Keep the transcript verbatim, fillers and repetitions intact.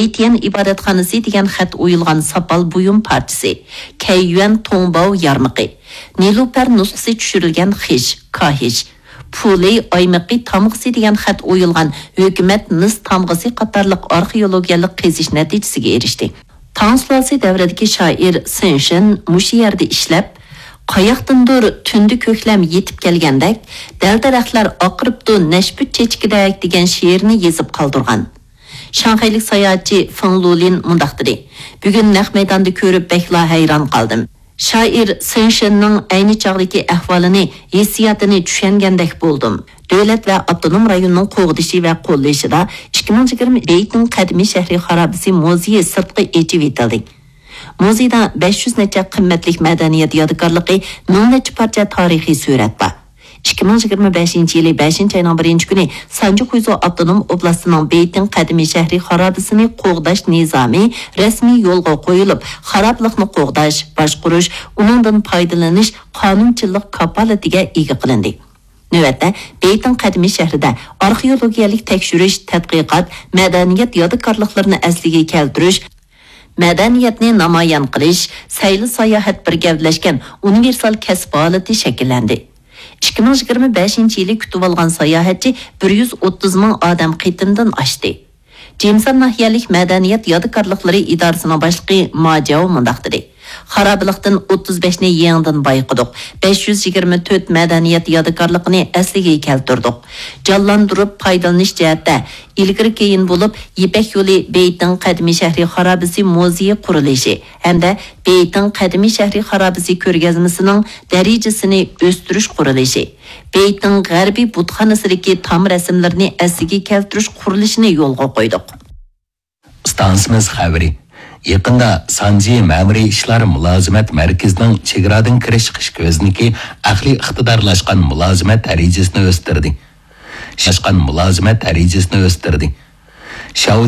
ئېتيەن ئىبادەتخانىسى دېگەن خەت ئويۇلغان ساپال بۇيۇم پارچىسى، كەييۈەن توڭباۋ يارمىقى، نېلۇپەر نۇسخىسى چۈشۈرۈلگەن خىش، كاھىش، پۇلى ئايمىقى تامغىسى دېگەن خەت ئويۇلغان ھۆكۈمەت مىس تامغىسى قاتارلىق ئارخېئولوگىيەلىك قېزىش نەتىجىسىگە ئېرىشتى. تاڭ سۇلالىسى دەۋرىدىكى شائىر سېن شېن مۇشۇ يەردە ئىشلەپ، «قاياقتىندۇر تۈندە كۆكلەم يېتىپ كەلگەندەك، دەل-دەرەخلەر ئاقىرىپتۇ نەشپۈت چېچىكىدەك» دېگەن شېئىرنى يېزىپ قالدۇرغان. شاڭخەيلىك ساياھەتچى فېڭ لۇلىن مۇنداق دېدى: «بۈگۈن نەق مەيداندا كۆرۈپ بەكلا ھەيران قالدىم. شائىر سېن شېننىڭ ئەينى چاغدىكى ئەھۋالىنى، ھېسسىياتىنى چۈشەنگەندەك بولدۇم.» دۆلەت ۋە ئاپتونوم رايوننىڭ قوغدىشى ۋە قوللىشىدا ئىككى مىڭ يىگىرمە بېيتىڭ قەدىمىي شەھىرى خارابىسى مۇزېيى سىرتقا ئېچىۋېتىلدى. مۇزېيدا بەش يۈز نەچچە قىممەتلىك مەدەنىيەت يادىكارلىقى، مىڭ نەچچە پارچە تارىخىي سۈرەت بار. ئىككى مىڭ يىگىرمە بەشىنچى يىلى بەشىنچى ئاينىڭ بىرىنچى كۈنى سانجى خۇيزۇ ئاپتونوم ئوبلاستىنىڭ بېيتىڭ قەدىمىي شەھىرى خارابىسىنى قوغداش نىزامى رەسمىي يولغا قويۇلۇپ، خارابىلىقنى قوغداش، باشقۇرۇش، ئۇنىڭدىن پايدىلىنىش قانۇنچىلىق كاپالىتىگە ئىگە قىلىندى. نۆۋەتتە، بېيتىڭ قەدىمىي شەھىرىدە ئارخېئولوگىيەلىك تەكشۈرۈش، تەتقىقات، مەدەنىيەت يادىكارلىقلىرىنى ئەسلىگە كەلتۈرۈش، مەدەنىيەتنى نامايان قىلىش، سەيلە-ساياھەت بىر گەۋدىلەشكەن ئۇنىۋېرسال كەسىپ ھالىتى شەكىللەندى. ئىككى مىڭ يىگىرمە بەشىنچى يىلى كۈتۈۋالغان ساياھەتچى بىر يۈز ئوتتۇز مىڭ ئادەم قېتىمدىن ئاشتى. جىمسان ناھىيەلىك مەدەنىيەت يادىكارلىقلىرى ئىدارىسىنىڭ باشلىقى ما جياۋ مۇنداق دېدى: «خارابىلىقتىن ئوتتۇز بەشنى يېڭىدىن بايقىدۇق، بەش يۈز يىگىرمە تۆت مەدەنىيەت يادىكارلىقىنى ئەسلىگە كەلتۈردۇق. جانلاندۇرۇپ پايدىلىنىش جەھەتتە ئىلگىرى كېيىن بولۇپ، يىپەك يولى بېيتىڭ قەدىمىي شەھىرى خارابىسى مۇزېيى قۇرۇلۇشى ھەمدە بېيتىڭ قەدىمىي شەھىرى خارابىسى كۆرگەزمىسىنىڭ دەرىجىسىنى ئۆستۈرۈش قۇرۇلۇشى، بېيتىڭ غەربىي بۇتخانىسىدىكى تام رەسىملىرىنى ئەسلىگە كەلتۈرۈش قۇرۇلۇشىنى يولغا قويدۇق.» ئىستانسىمىز خەۋىرى. يېقىندا سانجى مەمۇرىي ئىشلار مۇلازىمەت مەركىزىنىڭ چېگرادىن كىرىش چىقىش كۆزنىكى ئەقلىي ئىقتىدارلاشقان مۇلازىمەت دەرىجىسىنى ئۆستۈردى. ئىشلاشقان مۇلازىمەت دەرىجىسىنى ئۆستۈردى. شياۋ